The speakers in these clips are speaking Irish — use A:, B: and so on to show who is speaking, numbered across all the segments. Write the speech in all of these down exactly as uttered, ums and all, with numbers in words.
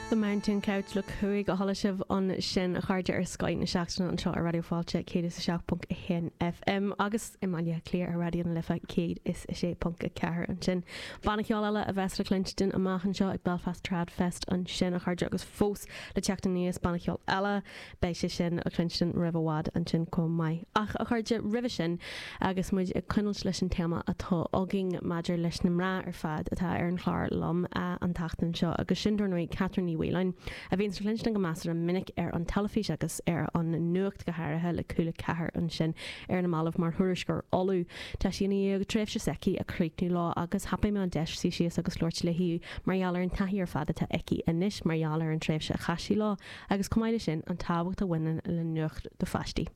A: The Mountain Couch le cúig a chuala sibh ansin a chairde ar Scoth na Seachtaine anseo ar Raidió Fáilte céad is a seacht ponc a haon FM agus i mBaile Átha Cliath ar Raidió na Life céad is a sé ponc a ceathair ansin. Banna ceoil eile a bheas le cluinstin amach anseo ag Belfast Trad Fest ansin a chairde agus fós le teacht aníos banna ceoil eile beidh sé sin le cluinstin roimh i bhfad ansin chomh maith. Ach a chairde roimhe sin agus muid ag coinneáil leis an téama atá againn maidir leis na mná ar fad atá ar an chlár liom an tseachtain seo agus sin dar ndóigh Catherine Ní Mhaoláin, a bhíonn le cluinstin go measartha minic ar an teilifís agus ar an nuacht go háirithe le Cúla Ceathair ansin ar na mallaibh mar thuairisceoir Uladh. Tá sí i ndiaidh tréimhse s'aici a chríochnú leo agus thapaigh mé an deis suí síos agus labhairt léi mar gheall ar an taithí ar fad atá aici anois mar gheall ar an tréimhse a chaith sí leo agus chomh maith leis sin an tábhacht a bhaineann le nuacht do pháistí.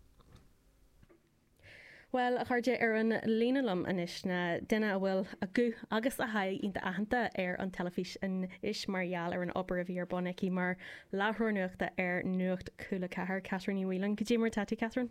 A: Well a chairde ar an líne liom anois ná duine a bhfuil a guth agus a haghaidh iontach aitheanta ar an teilifís anois mar gheall ar an obair a bhí ar bun aici mar láithreoir nuachta ar Nuacht Cúla Ceathair Catherine Ní Mhaoláin. Cad é mar atá tú Catherine?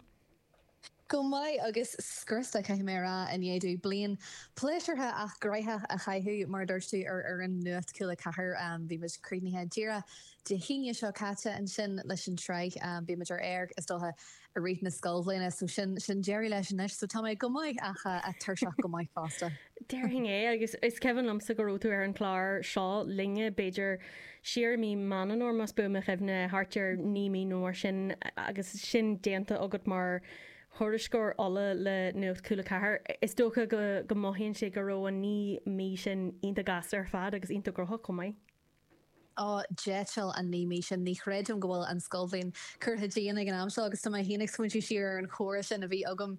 B: Go maith agus scriosta caithfidh mé a rá i ndiaidh bliain pléisiúrtha ach gnóthach a chaitheamh mar dúirt tú ar ar an Nuacht Cúla Ceathair bhí muid críochnaithe díreach Dé hAoine seo caite ansin leis an tsraith bhí muid ar air is dócha i rith na scoilbhliana so sin sin deireadh leis anois so tá mé go maith ach tuirseach go maith fosta.
A: Déarfainn é agus is cuimhin liomsa go raibh tú ar an chlár seo linne b'fhéidir siar i mí Meán Fómhair más buan mo chuimhne thart ar naoi mí nó mar sin agus sin déanta agat mar thuairisceoir Uladh le Nuacht Cúla Ceathair. Is dócha go go mothaíonn sé go raibh an naoi mí sin iontach gasta ar fad agus iontach gnóthach chomh maith.
B: Ó, d'eitil an naoi mí sin, ní chreidim go bhfuil an scoilbhliain curtha dínn ag an am seo agus tá mé féin ag smaointiú siar ar an chomhrá sin a bhí agam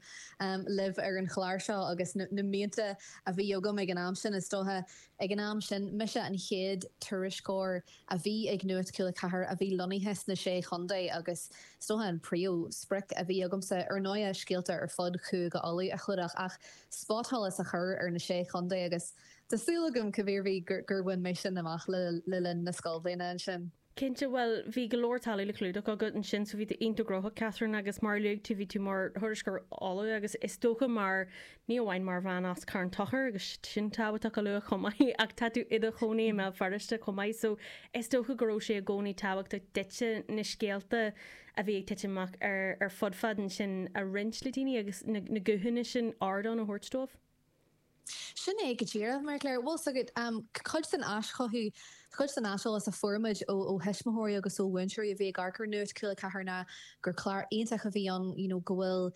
B: libh ar an chlár seo agus na mianta a bhí agam ag an am sin. Is dócha ag an am sin, mise an chéad tuairisceoir a bhí ag Nuacht Cúla Ceathair a bhí lonnaithe sna Sé Chontae agus is dócha an príomh sprioc a bhí agamsa ar ndóigh scéalta ar fud Chúige Uladh a chlúdach ach spotsholas a chur ar na Sé Chontae agus Tá súil agam cibé ar bith gur bhain mé sin amach le linn na scoilbhliana ansin.
A: Cinnte, bhuel, bhí go leor talaimh le clúdach agat ansin so bhí tú iontach gnóthach, Catherine, agus mar a luaigh tú, bhí tú mar thuairisceoir Uladh agus is dócha mar, ní amháin mar bhean as Carn Tóchair agus sin tábhachtach a lua chomh maith ach tá tú i do chónaí i mBéal Feirste chomh maith so is dócha go raibh sé i gcónaí tábhachtach duitse na scéalta a bhí ag titim amach ar ar fud fad ansin a roinnt le daoine agus na na guthanna sin ardán a thabhairt dóibh.
B: Sin é go díreach, Mary Claire. Bhfuil 's agat, cuid den aischothú, cuid den aiseolas a fuair muid ó ó thuismitheoirí agus ó mhúinteoirí a bhí ag amharc ar Nuacht Cúla Ceathair ná gur clár iontach a bhí ann, you know, go bhfuil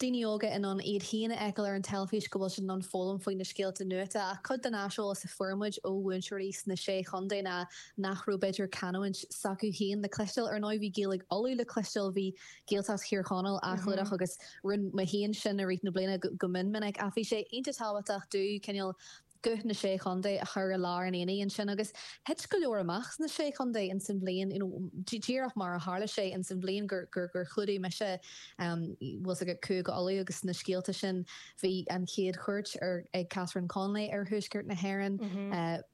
B: daoine óga in ann iad féin a fheiceáil ar an teilifís, go bhfuil siad in ann foghlaim faoi na scéalta nuachta. Ach cuid den aiseolas a fuair muid ó mhúinteoirí sna Sé Chontae ná nach raibh b'fhéidir canúint s'acu féin le cloisteáil. Ar ndóigh bhí Gaeilge Uladh le cloisteáil, bhí Gaeltacht Thír Chonaill á chlúdach agus rinne mé féin sin i rith na bliana go mion minic ach bhí sé iontach tábhachtach domh cineál guth na Sé Chontae a chur i lár an aonaigh ansin agus thit go leor amach sna Sé Chontae ins an bhliain you know díreach mar a tharla sé ins an bhliain gur gur gur chlúdaigh mise um bhfuil 's agat Cúige Uladh agus na scéalta sin bhí an chéad chuairt ar ag Catherine Connolly ar Thuaisceart na hÉireann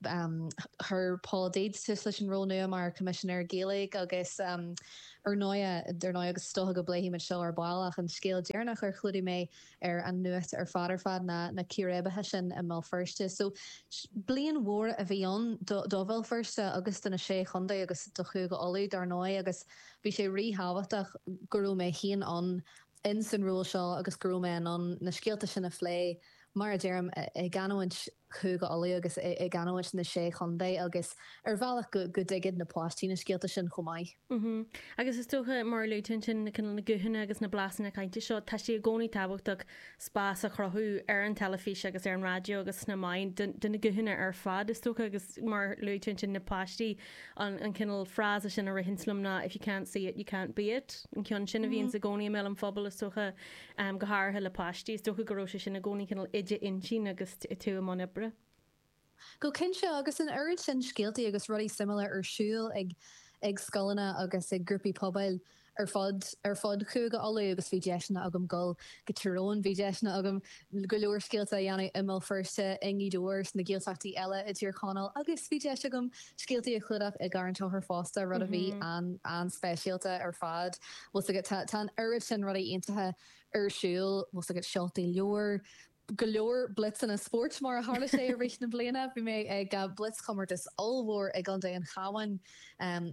B: um chuir Paul Deeds tús leis an ról nua mar Choimisinéir Gaeilge agus um Ar ndóigh, ar ndóigh, agus is dócha go bpléifimid seo ar ball, ach an scéal deireanach ar chlúdaigh mé ar an Nuacht ar fad ar fad ná na círéibeacha sin i mBéal Feirste. So, bliain mhór a bhí ann do Bhéal Feirste agus do na Sé Chontae agus do Chúige Uladh, dar ndóigh, agus bhí sé ríthábhachtach go raibh mé féin ann ins an ról seo agus go raibh mé in ann na scéalta sin a phlé, mar a deirim, i gcanúint Chúige Uladh agus i gcanúint na Sé Chontae agus ar bhealach go dtuigfeadh na páistí na scéalta sin chomh maith.
A: Agus is dócha, mar a luaigh tú ansin, na cineál na guthanna agus na blasanna cainte seo, tá sé i gcónaí tábhachtach spás a chruthú ar an teilifís agus ar an raidió agus sna meáin do na guthanna ar fad, is dócha, agus mar a luaigh tú ansin, na páistí, an cineál frása sin a ritheanns liom ná 'if you can't see it, you can't be it', an ceann sin a bhíonns i gcónaí i mbéal an phobail, is dócha. Go háirithe le páistí, is dócha go raibh sé sin i gcónaí cineál i d'intinn agus tú i mbun oibre.
B: Go cinnte, agus an oiread sin scéaltaí agus rudaí suimiúla ar siúl ag ag scoileanna agus ag grúpaí pobail ar fud ar fud Chúige Uladh agus bhí deiseanna agam dul go Tír Eoghain, bhí deiseanna agam go leor scéalta a dhéanamh i mBéal Feirste, i nGaoth Dobhair, sna Gaeltachtaí eile i dTír Chonaill agus bhí deis agam scéaltaí a chlúdach i gCarn Tóchair fosta, rud a bhí an-speisialta ar fad. Bhfuil 's agat, tá an oiread sin rudaí iontacha ar siúl, bhfuil 's agat, seoltaí leabhar, Go leor blitzeanna spóirt mar a tharla sé i rith na bliana, bhí mé ag blitzchomórtas ollmhór i gContae an Chabháin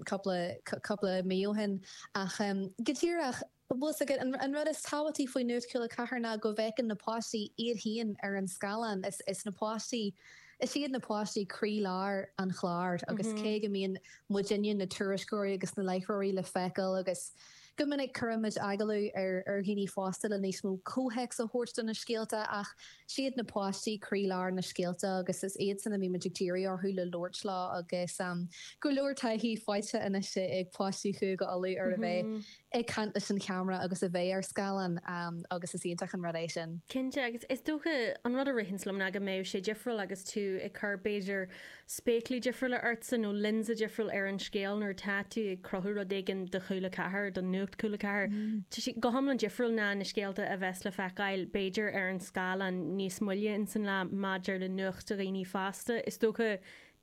B: cúpla cúpla mí ó shin ach go díreach bhfuil a fhios agat an rud is tábhachtaí faoi Nuacht Cúla Ceathair ná go bhfeiceann na páistí iad féin ar an scáileán is is na páistí is iad na páistí croílár an chláir agus cé go mbíonn muidinne na tuairisceoirí agus na láithreoirí le feiceáil agus go minic cuirimid agallamh ar ar dhaoine fásta le níos mó comhthéacs a thabhairt do na scéalta ach siad na páistí croílár na scéalta agus is iadsan a bhímid ag díriú orthu le labhairt leo agus um, go leor taithí faighte anois ag páistí Chúige Uladh ar a bheith ag caint leis an cheamara agus a bheith ar scáileán um, agus is iontach an rud é sin.
A: Cinnte agus is dócha an rud a ritheann liom ná go mbeidh sé difriúil agus tú ag cur b'fhéidir spéaclaí difriúla ortsa nó lionsa difriúil ar an scéal nuair atá tú ag cruthú rud éigin do Chúla Ceathair don Nuacht Cúla Ceathair. Tá sé go hiomlán difriúil ná na scéalta a bheas le feiceáil b'fhéidir ar an scáileán níos moille in san lá maidir le nuacht do dhaoine fásta. Is dócha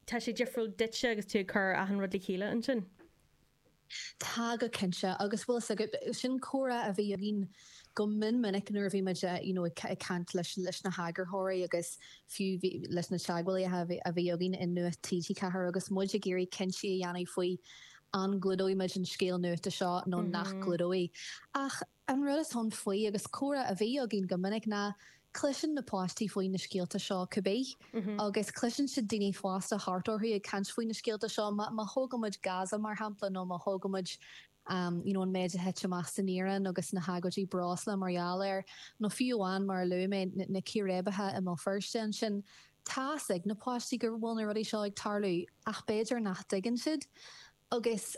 A: tá sé difriúil duitse agus tú ag cur achan rud le chéile ansin.
B: Tá go cinnte agus bhfuil a fhios agat sin comhrá a bhí againn go mion minic nuair a bhí muid you know, ag caint leis leis na heagarthóirí agus fiú leis na teagmhálaithe a bhí againn in Nuacht TG Ceathair agus muid ag iarraidh cinntí a dhéanamh faoi an gclúdóidh muid an scéal nuachta seo nó nach gclúdóidh. Ach an rud is ann faoi agus comhrá a bhí againn go minic ná cloiseann na páistí faoi na scéalta seo cibé agus cloiseann siad daoine fásta thart orthu ag caint faoi na scéalta seo má thógaimid Gaza mar shampla nó má thógaimid um, you know, an méid a thit amach san Iaráin agus na hagóidí breosla mar gheall air nó fiú amháin mar a luaigh mé na círéibeacha i mBéal Feirste ansin tá a fhios ag na páistí go bhfuil na rudaí seo ag tarlú ach b'fhéidir nach dtuigeann siad agus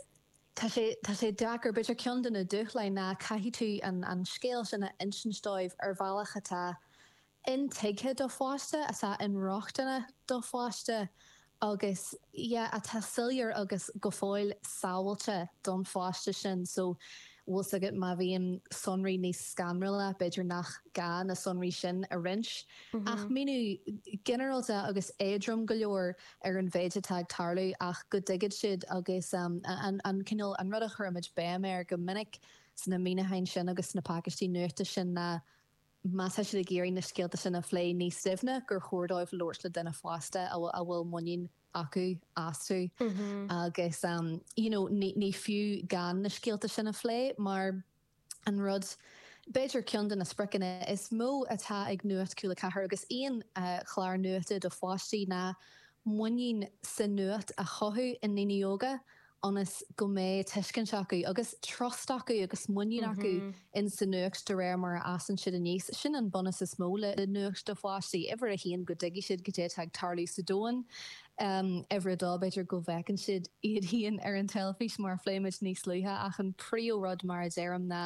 B: Tá sé tá sé deacair b'fhéidir ceann de na dúshláin ná caithfidh tú an an scéal sin a insint dóibh ar bhealach atá intuigthe do pháiste atá inrochtana do pháiste agus yeah, atá soiléir agus go fóill sábháilte don pháiste sin so bhfuil a fhios agat má bhíonn sonraí níos scanrúla b'fhéidir nach gá na sonraí sin a roinnt. Mm -hmm. Ach míniú ginearálta agus éadrom go leor ar an mhéid atá ag tarlú ach go dtuigfidh siad agus um, an, an cineál an rud a chuirimid béim air go minic sna míniúcháin sin agus na pacáistí nuachta sin ná má tá siad ag iarraidh na scéalta sin a phlé níos doimhne gur chóir dóibh labhairt le duine fásta a bhfuil muinín acu astu mm -hmm. agus um, you know, ní, ní fiú gan na scéalta sin a phlé mar an rud b'fhéidir ceann de na spriocanna is mó atá ag Nuacht Cúla Ceathair agus aon uh, chlár nuachta do pháistí ná muinín sa nuacht a chothú i ndaoine óga ionas go mbeidh tuiscint acu agus trust acu agus muinín acu mm -hmm. in sa nuacht de réir mar a fhásann siad aníos sin an bunús is mó le le nuacht do pháistí uimhir a haon go dtuigfidh siad cad é atá ag tarlú sa domhan um, uimhir a dó b'fhéidir go bhfeiceann siad iad féin ar an teilifís mar a phléimid níos luaithe ach an príomhrud mar a deirim ná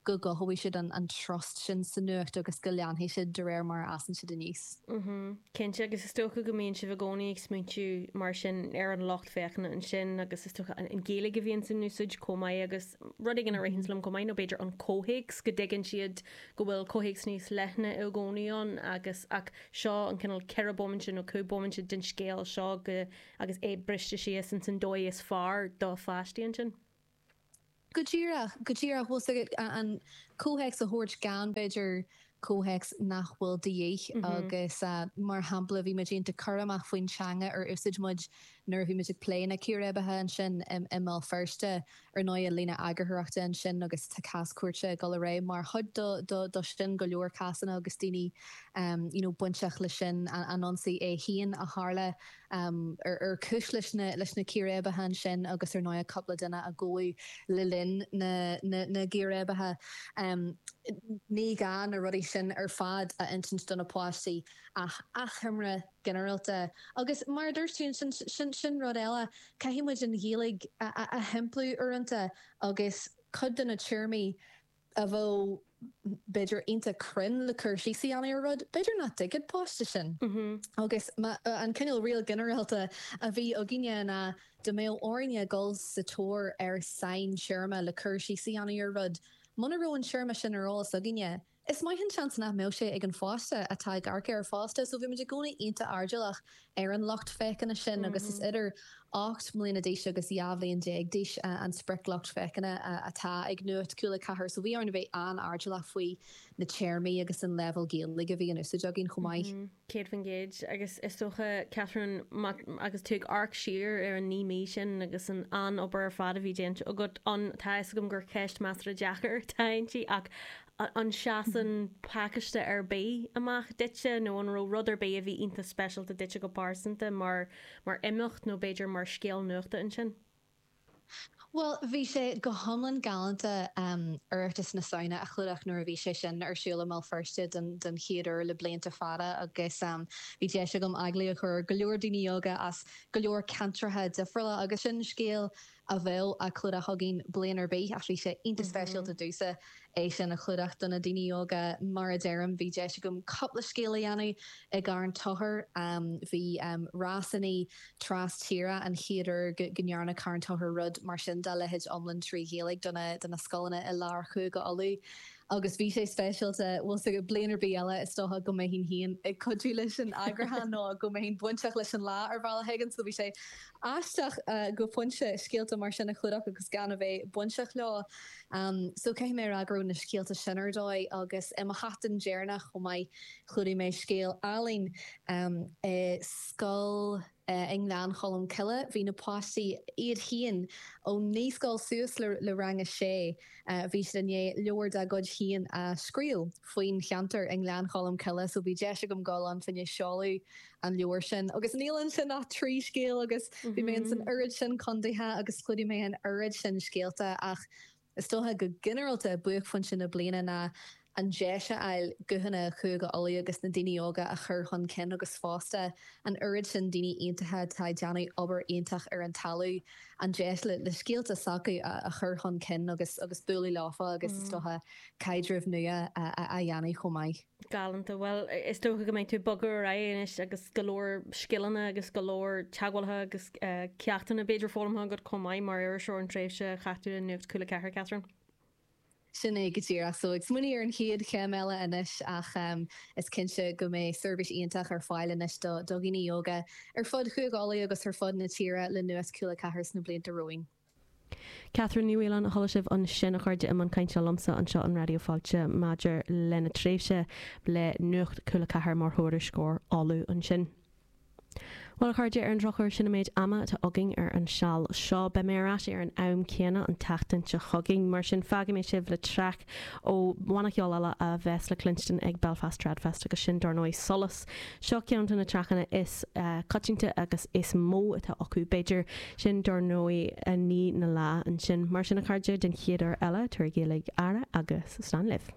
B: go gcothóidh siad an, an trust sin sa nuacht agus go leanfaidh siad de réir mar a fhásann siad aníos.
A: Mm -hmm. Cinnte agus is dócha go mbíonn sibh i gcónaí ag smaointiú mar sin ar an lucht féachana ansin agus is dócha an Ghaeilge a bhíonn san úsáid chomh maith agus rud éigin a ritheann liom chomh maith nó b'fhéidir an comhthéacs go dtuigeann siad go bhfuil comhthéacs níos leithne i gcónaí ann agus ach seo an cineál ceithre bomaite nó cúig bomaite den scéal seo go agus é briste síos in san dóigh is fearr do pháistí ansin.
B: Go díreach go díreach bhfuil an comhthéacs a thabhairt gan b'fhéidir comhthéacs nach bhfuil de dhíth mm -hmm. agus uh, mar shampla bhí muid iontach cúramach faoin teanga ar úsáid muid nuair a bhí muid ag plé na círéibeacha ansin i mBéal Feirste ar ndóigh líne eagarthóireachta ansin agus tá cás cúirte ag dul ar aghaidh mar chuid do, do, do sin go leor cásanna agus daoine um, you know, bainteach leis sin an, an ionsaí é féin a tharla um, ar, ar cúis leis na, leis na círéibeacha ansin agus ar ndóigh cúpla duine a gabhadh le linn na, na, na gcíréibeacha. Um, ní gá na rudaí sin ar fad a insint do na páistí ach achoimre ginearálta. Agus mar dúirt sin, sin, sin rud eile caithfidh muid an Ghaeilge a, a, a shimpliú uaireanta agus cuid de na téarmaí a bheadh b'fhéidir iontach cruinn le cur síos a dhéanamh ar rud, b'fhéidir nach dtuigfidh páiste sin.
A: Mm -hmm.
B: Agus an cineál riail ginearálta a bhí againne ná dá mbeadh orainne dul sa tóir ar saintéarma le cur síos a dhéanamh ar rud. Muna raibh an téarma sin ar eolas againne, Is maith an seans nach mbeadh sé ag an pháiste atá ag amharc air fosta, so bhí muid i gcónaí iontach airdeallach ar an lucht féachana sin agus is idir ocht mbliana d'aois agus dhá bhliain déag d'aois an sprioclucht féachana atá ag Nuacht Cúla ceathair, so bhí orainn a bheith an-airdeallach faoi na téarmaí agus an leibhéal Gaeilge a bhí in úsáid againn chomh maith.
A: Céad faoin gcéad. Agus is dócha, Catherine, agus tú ag amharc siar ar an naoi mí sin agus an an-obair ar fad a bhí déanta agat ann, tá a fhios agam gur ceist measartha deacair atá inti ach an seasann pacáiste ar bith amach duitse nó an raibh rud ar bith a bhí iontach speisialta duitse go pearsanta mar mar imeacht nó b'fhéidir mar scéal nuachta ansin?
B: Bhuel, bhí sé go hiomlán galánta Oireachtas na Samhna a chlúdach nuair a bhí sé sin ar siúl i mBéal Feirste den den chéad uair le blianta fada agus bhí deis agam agallamh a chur ar go leor daoine óga as go leor ceantracha difriúla agus sin scéal a bheadh á chlúdach againn bliain ar bith ach bhí sé iontach speisialta domhsa é sin a chlúdach do na daoine óga. Mar a deirim, bhí deis agam cúpla scéal a dhéanamh i gCarn Tochair. Bhí rásanna tras tíre an chéad uair go ndearna Carn Tochair rud mar sin dá leithéid iomlán trí Ghaeilge do na scoileanna i lár Chúige Uladh agus bhí sé speisialta. Bhfuil 's agat, bliain ar bith eile is dócha go mbeinn féin ag cuidiú leis an eagrúchán nó go mbeinn bainteach leis an lá ar bhealach éigin so bhí sé aisteach go pointe scéalta mar sin a chlúdach agus gan a bheith bainteach leo. So caithfidh mé a rá go raibh na scéalta sin ar dóigh agus i mo sheachtain deireanach chomh maith chlúdaigh mé scéal álainn i scoil i nGleann Cholm Cille. Bhí na páistí iad féin ón naíscoil suas le rang a sé, bhí siad i ndiaidh leabhar dá gcuid féin a scríobh faoin cheantar i nGleann Cholm Cille so bhí deis agam dul ann fá choinne seoladh an leabhair sin. Agus níl ansin ach trí scéal agus bhí mé ins an oiread sin contaetha agus chlúdaigh mé an oiread sin scéalta ach is dócha go ginearálta buaicphointe na bliana ná an deis a fháil guthanna Chúige Uladh agus na daoine óga a chur chun cinn agus fosta an oiread sin daoine iontacha atá ag déanamh obair iontach ar an talamh, an deis le scéalta s'acu a chur chun cinn agus agus bualadh leofa agus is dócha caidrimh nua a dhéanamh chomh maith.
A: Galánta. Bhuel, is dócha go mbeidh tú ag bogadh ar aghaidh anois agus go leor scileanna agus go leor teagmhálaithe agus ceachtanna b'fhéidir foghlamtha agat chomh maith mar iriseoir an tréimhse a chaith tú le Nuacht Cúla Ceathair, Catherine.
B: Sin é go díreach. So ag smaoineamh ar an chéad chéim eile anois ach is cinnte go mbeidh seirbhís iontach ar fáil anois do dhaoine óga ar fud Chúige Uladh agus ar fud na tíre le Nuacht Cúla Ceathair sna blianta romhainn.
A: Catherine Ní Mhaoláin a chuala sibh ansin a chairde i mbun cainte liomsa anseo in Raidió Fáilte maidir lena tréimhse le Nuacht Cúla Ceathair mar thuairisceoir Uladh ansin. Bhuel, a chairde, ar an drochuair, sin an méid ama atá againn ar an seal seo. Beidh mé ar ais ar an am céanna an tseachtain seo chugainn, mar sin fágfaidh mé sibh le traic ó bhanna ceoil eile a bheas le cluinstin ag Belfast Tradfest agus sin, dar ndóigh, Solas. Seo ceann de na traiceanna is coitianta agus is mó atá acu, b'fhéidir. Sin, dar ndóigh, Ní na Lá ansin. Mar sin, a chairde, den chéad uair eile, tabhair uilig aire agus slán libh.